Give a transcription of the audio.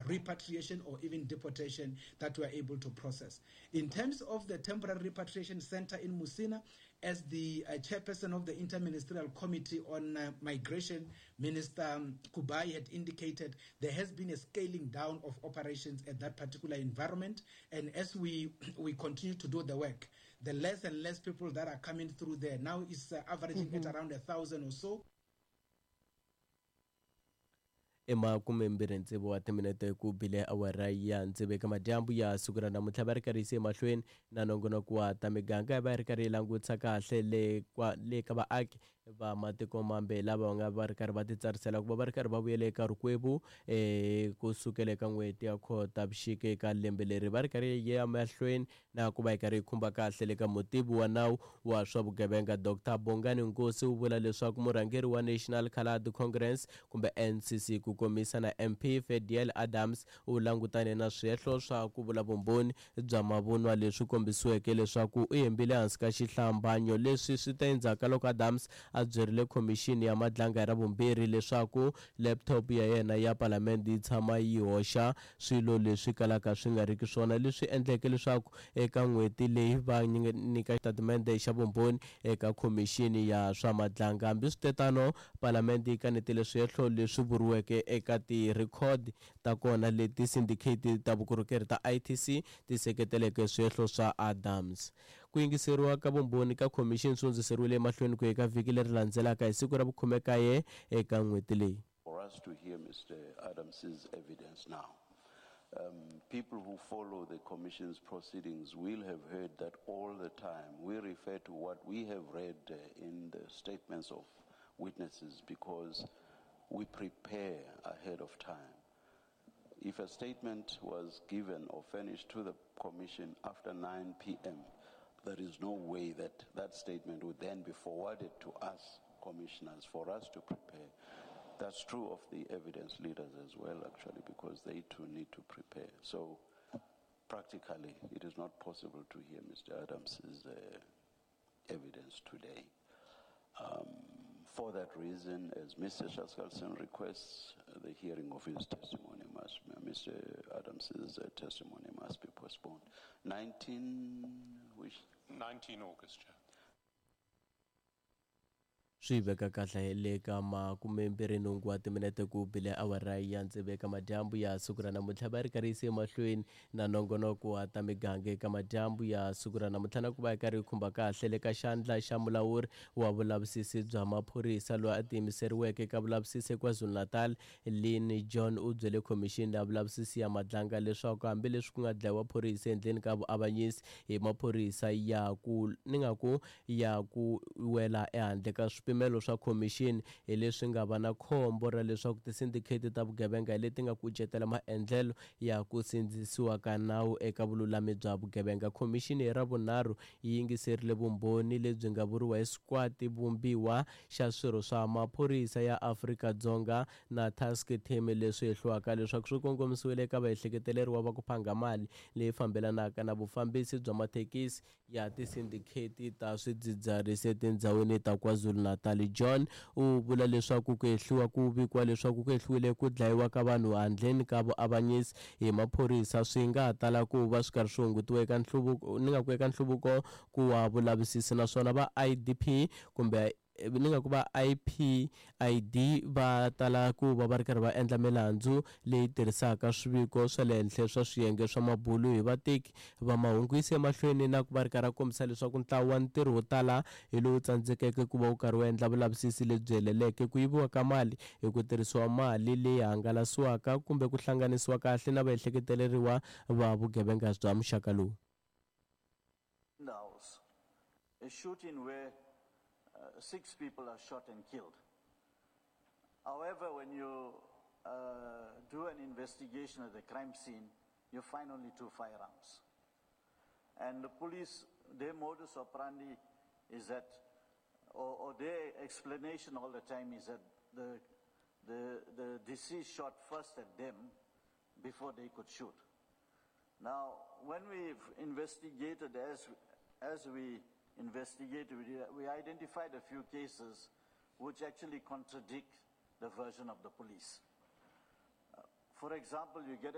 repatriation or even deportation that we are able to process. In terms of the temporary repatriation center in Musina, as the chairperson of the Interministerial Committee on Migration, Minister Kubayi had indicated, there has been a scaling down of operations at that particular environment. And as we continue to do the work, the less and less people that are coming through there now is averaging at around 1,000 or so. I 26 wa timinete ku bile awara ya tsevu eka madyambu ya siku ra namuntlha, va ri karhi yise emahlweni na nongonoko wa ta miganga, va ri karhi yi langutisa kahle le kwa le ka vaaki va matiko mambe lava va nga va ri karhi va titsarisela ku va va ri karhi va vuyela eka rikwevu kusukela eka n'hweti ya Khotavuxika eka lembe leri. Va ri karhi ya mahlweni na ku va yi karhi yi khumba kahle le ka mutivi wa nawu wa swa vugevenga Dr Bongani Nkosi u vula leswaku murhangeri wa National Coloured Congress kumbe NCC ku komisa na MP Fadiel Adams u langutane na swihehlo swa ku vula vumbhoni bya mavunwa leswi kombisiweke leswaku u hembile hansi ka xihlambanyo. Leswi swi ta endzhaku ka loko Adams a byerile khomixini ya Madlanga hi Ravumbirhi leswaku laptop ya yena ya palamende yi tshama yi hoxa swilo leswi kalaka swi nga riki swona, leswi endleke leswaku eka n'hweti leyi va nyika xitatimende xa vumbhoni eka khomixini ya swa Madlanga. Hambiswitetano, palamende yi kanetile swihehlo leswi vuriweke eka tirhikhodi ta kona leti sindikheti ta vukorhokeri ta ITC ti seketeleke swihehlo swa Adams. Ku yingiseriwa ka vumbhoni ka khomixini swi hundziseriwile emahlweni ku eka vhiki leri landzelaka hi siku ra vukhume-kaye eka n'hweti leyi. For us to hear Mr. Adams's evidence now. People who follow the Commission's proceedings will have heard that all the time we refer to what we have read in the statements of witnesses because we prepare ahead of time. If a statement was given or furnished to the Commission after 9 p.m., there is no way that that statement would then be forwarded to us commissioners for us to prepare. That's true of the evidence leaders as well, actually, because they too need to prepare. So practically, it is not possible to hear Mr. Adams's evidence today. For that reason, as Mr. Chaskalson requests, the hearing of his testimony must, Mr. Adams's testimony must be postponed. 19, which? 19 August, Chair. Swi veka kahle le ka 28 wa timinete ku bile awara ya tsevu eka madyambu ya siku ra namuntlha, va ri karhi yise emahlweni na nongonoko wa ta miganga eka madyambu ya siku ra namuntlha na ku va yi karhi yi khumba kahle le ka xandla xa mulawuri wa vulavisisi bya maphorisa loyi a tiyimiseriweke eka vulavisisi eKwaZulu-Natal Lynn John u byele khomixini ya vulavisisi ya Madlanga leswaku hambileswi ku nga dlayiwa phorisa endleni ka vuavanyisi hi maphorisa ya ku ni nga ku ya ku wela ehandle ka swipimelo swa khomixini hi leswi nga va na khombo ra leswaku tisindikheti ta vugevenga hi leti nga kucetela maendlelo ya ku sindzisiwa ka nawu eka vululami bya vugevenga. Khomixini hi Ravunharhu yi yingiserile vumbhoni lebyi nga vuriwa hi sikwati vumbiwa xa swirho swa maphorisa ya Afrika-Dzonga na task team leswi hehliwaka leswaku swi kongomisiwile eka vaehleketeleriwa va ku phanga mali leyi fambelanaka na vufambisi bya mathekisi ya tisindikheti ta swidzidziharisi etindhawini ta KwaZulu-Natal. John u vula leswaku ku hehliwa ku vikiwa leswaku ku hehliwile ku dlayiwa ka vanhu handleni ka vuavanyisi hi maphorisa swi nga tala ku va swi karhi swi hungutiwa eka nhluvuko ni nga ku eka nhluvuko ku wa vulavisisi, naswona va IDP kumbe ni nga ku va IPID va tala ku va va ri karhi va endla milandzu leyi tirhisaka swiviko swa le henhla swa swiyenge swa mabulu hi vateki va mahungu. Yise emahlweni na ku va ri karhi a kombisa leswaku ntlawa wa ntirho wo tala hi lowu tsandzekeke ku va wu karhi wu endla vulavisisi lebyi heleleke ku yiviwa ka mali hi ku tirhisiwa mali leyi hangalasiwaka kumbe ku hlanganisiwa kahle na vaehleketeleriwa va vugevenga bya muxaka lowu. In the house, a shooting where 6 people are shot and killed. However, when you do an investigation at the crime scene, you find only 2 firearms. And the police, their modus operandi is that, or their explanation all the time is that the deceased shot first at them before they could shoot. Now, when we've investigated, as we investigated, we identified a few cases which actually contradict the version of the police. For example, you get